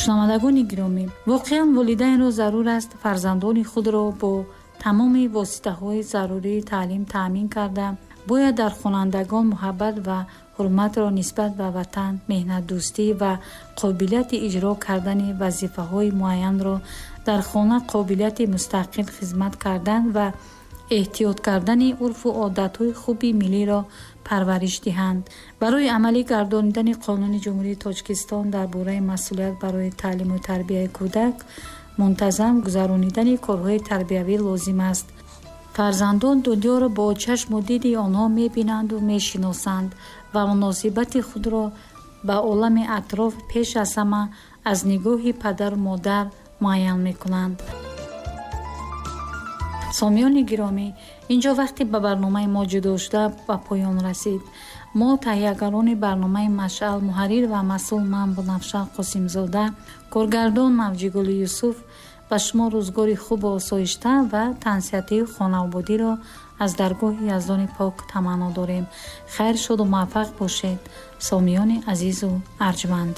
Шунавандагони гиромӣ, воқеан волидайнро зарур аст фарзандони худро бо тамоми воситаҳои зарурии таълим таъмин карда, бояд дар хонандагон муҳаббат ва ҳурматро нисбат ба ватан, меҳнатдӯстӣ ва қобилияти иҷро кардани вазифаҳои муайянро дар хона, қобилияти мустақил хизмат кардан ва эҳтиёт кардани урфу одатҳои хуби миллиро парвариш диҳанд. Барои амалӣ гардонидани Қонуни Ҷумҳурии Тоҷикистон дар бораи масъулият барои таълиму тарбияи кӯдак мунтазам гузаронидани корҳои тарбиявӣ лозим аст. Фарзандон дунёро бо чашму диди онҳо мебинанду мешиносанд ва муносибати худро ба олами атроф пеш аз ҳама аз нигоҳи падару модар муайян мекунанд. Сомиёни гиромӣ, инҷо вақте ба барномаи мо ҷудо шуда ба поён расид. Мо таҳиягарони барномаи Машъал, муҳаррир ва масъул ман Бунафша Қосимзода, коргардон Мавҷигули Юсуф ба шумо рӯзгори хубу осоишта ва тансиҳатии хонаободиро аз даргоҳи Яздони Пок таманно дорем. Хайр шуду муваффақ бошед, сомиёни азизу арҷманд.